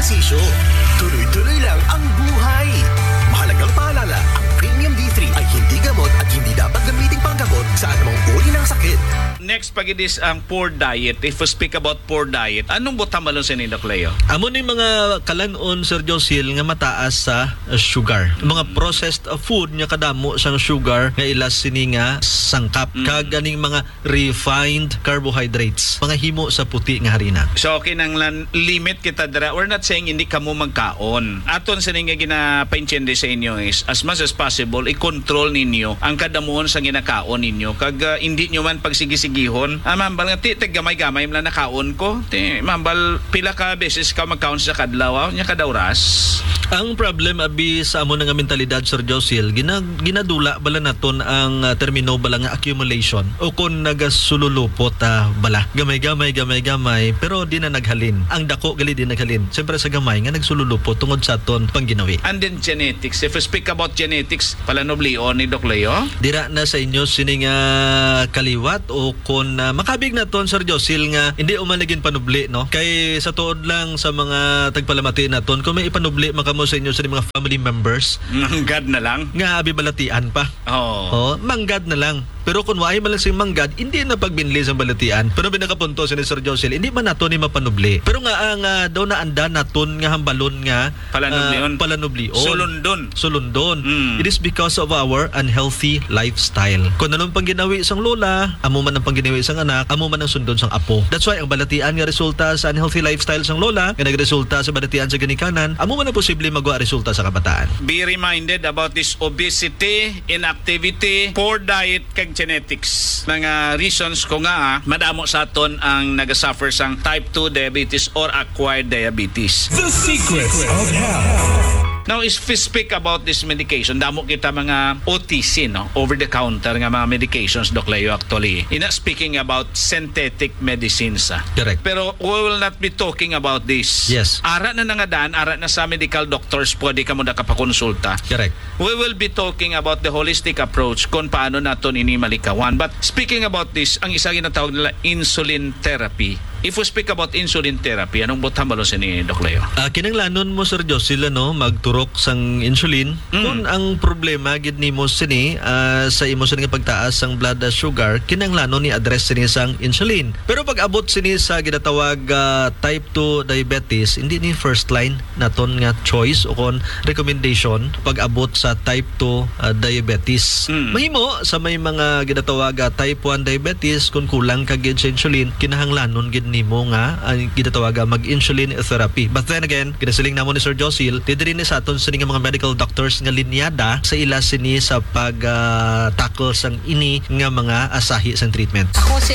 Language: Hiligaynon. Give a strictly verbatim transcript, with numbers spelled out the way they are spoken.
Sisyo. Tuloy-tuloy lang ang buhay. Mahalagang paalala, ang Premium D three ay hindi gamot at hindi dapat gamiting panggamot sa anumang uri ng sakit. Next, pagidis ang poor diet. If we speak about poor diet, anong butang balon sini, Doc Leo? Amo ni mga kalan-on, Sir Josil, nga mataas sa uh, sugar. Mga processed uh, food nga kadamo sang sugar nga ila sini nga sangkap. Mm. Kag aning mga refined carbohydrates, mga himo sa puti nga harina. So, kinahanglan limit kita dira. We're not saying hindi kamo magkaon. Aton sini nga ginapaintindi sa inyo is, as much as possible, i-control ninyo ang kadamuhon sa ginakaon ninyo. Kag, ah, hindi nyo man pagsigisighon. Ah, mambal nga, ti, tig gamay-gamay man lang nakaon ko. Ti, mambal, pila ka beses ka magkaon sa kadlaw, ah? Nya kada oras. Ang problem, abi, sa amo na nga mentalidad, Sir Josil, gina-, ginadula bala naton ang, ah, termino bala nga accumulation o kon nagasululupot, ah, bala. Gamay-gamay, gamay-gamay, pero di na naghalin. Ang dako gali di naghalin. Siyempre sa gamay nga nagsululupot tungod sa aton pangginawi. And then genetics. If we speak about genetics, palanublion ni Doc Leo? Dira na sa inyo sini nga kaliwat o kon, ah, makabig naton, Sir Josil, nga hindi uman na ginpanubli, no? Kay sa tuod lang sa mga tagpalamati naton, kung may ipanubli man kamo sa inyo sa mga family members, manggad na lang. Nga abi balatian pa. Oo. Oh, manggad na lang. Pero kung waay man lang sing manggad, hindi na pagbinli sang balatian. Pero binakapunto si Sir Josil, hindi man nato ni mapanubli. Pero nga ang, ah, daw naanda naton nga hambalon nga, palanublion. Ah, palanublion. Sulundon. Sulundon. Mm. It is because of our unhealthy lifestyle. Kung anong pangginawi sang lola, amo man ang pangginawi sang anak, amo man ang sundon sang apo. That's why ang balatian nga resulta sa unhealthy lifestyle sang lola, nga nagresulta sa balatian sa ginikanan, amo man ang posible magwa resulta sa kabataan. Be reminded about this obesity, inactivity, poor diet, kag genetics. Mga reasons ko nga, ah, madamo sa aton ang nagasuffer sang type two diabetes or acquired diabetes. The Secrets of Health. Now, if we speak about this medication, damo kita mga O T C, no? Over the counter nga mga medications, Doc Leo, actually. Ina, speaking about synthetic medicines, ah. Correct. Pero we will not be talking about this. Yes. Ara na nangadaan, ara na sa medical doctors, pwede ka mo nakapakonsulta. Correct. We will be talking about the holistic approach kung paano naton ini malikawan. But speaking about this, ang isa ginatawag nila insulin therapy. If we speak about insulin therapy, anong butang balon sini, Doc Leo? Ah, kinahanglanon mo, Sir Josil, ano, magturok sang insulin. Mm. Kung ang problema gid nimo sini, ah, sa imo sini nga pagtaas sang blood, ah, sugar, kinahanglanon ni address sini sang insulin. Pero pag abot sini sa ginatawag, ah, type two diabetes, hindi ni first line naton nga choice o kon recommendation pag abot sa type two, ah, diabetes. Mm. Mahimo sa may mga ginatawag, ah, type one diabetes, kung kulang ka gid sa insulin, kinahanglanon gid nimo nga ang ginatawag, ah, mag-insulin therapy. But then again, ginasiling namo ni Sir Josil, diri ni sa aton sini nga mga medical doctors nga linyada sa ila sini sa pag, ah, tackle sang ini nga mga asahi sang treatment. Ako si